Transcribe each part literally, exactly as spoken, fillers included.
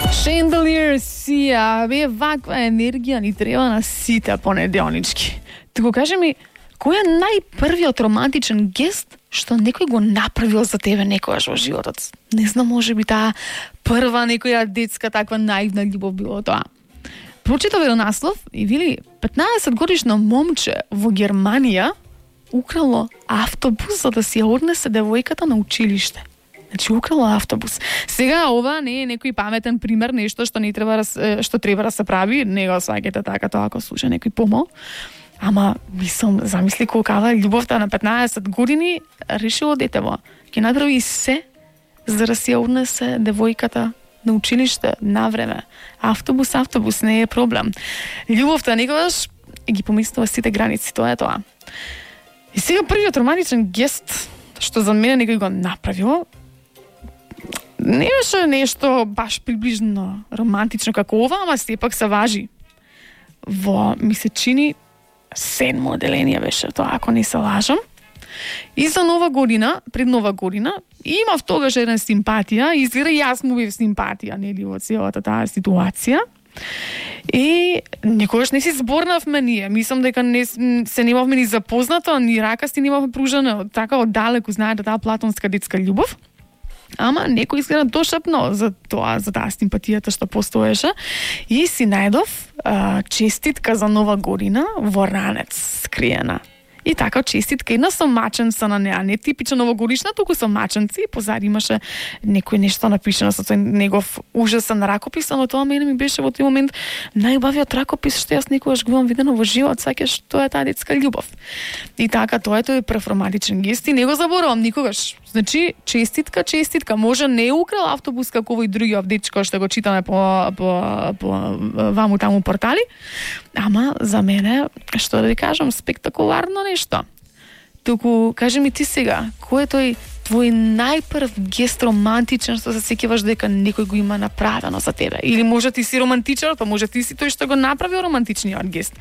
Chandelier сија, бе, ваква енергија ни треба на сите понеделнички. Туку кажи ми, кој е најпрвиот романтичен гест што некој го направил за тебе некогаш во животот? Не знам, може би таа прва некоја детска таква наивна љубов било тоа. Прочитав еден наслов и вели петнаесет годишно момче во Германија украло автобус за да си ја однесе девојката на училиште. Значи украло автобус. Сега ова не е некој паметен пример, нешто што не треба да, што треба да се прави, не го сваќате така тоа ако слуша некој помал. Ама мислам, замисли колкава љубовта на петнаесет години решило детево. Ќе направи се за да си ја однесе девојката на училиште на време. Автобус, автобус не е проблем. Љубовта некогаш ги помислува сите граници, тоа е тоа. И сега првиот романтичен гест што за мене некој го направил не беше нешто баш приближно романтично како ова, ама сепак се важи. Во ми се чини седмо одделение беше тоа, ако не се лажам. И за нова година, пред нова година, имав тогаш еден симпатија, изгледа јас му бев симпатија, нели, во целата таа ситуација. И никогаш не си зборнавме ние. Мислам дека не се немавме ни запознато, ни ракасти немавме пружено така оддалеку, знаете, таа платонска детска љубов. Ама некој изгледа дошапно за тоа, за таа симпатијата што постоеше и си најдов а, честитка за нова година во ранец скриена. И така честитка една со маченца на неа, не типична новогодишна, туку со маченци, позади имаше некој нешто напишано со тој негов ужасен ракопис, ама тоа мене ми беше во тој момент најубавиот ракопис што јас никогаш го имам видено во живот, сакаш тоа е таа детска љубов. И така тоа е тој прв романтичен гест и не го заборавам никогаш. Значи честитка, честитка, може не украл автобус како овој другиот дечко што го читаме по по по ваму таму портали, ама за мене, што да ви кажам, спектакуларно нешто. Туку, кажи ми ти сега, кој е тој твој најпрв гест романтичен што се сеќаваш дека некој го има направено за тебе? Или може ти си романтичар, па може ти си тој што го направил романтичниот гест.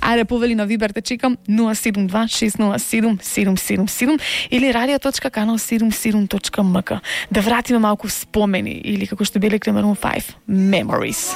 Ајде, повели на Вибер, те чекам нула седум два шест нула седум седум седум седум или радио точка канал седумдесет и седум точка ем ка. Да вратиме малку спомени или како што биле Maroon five Memories.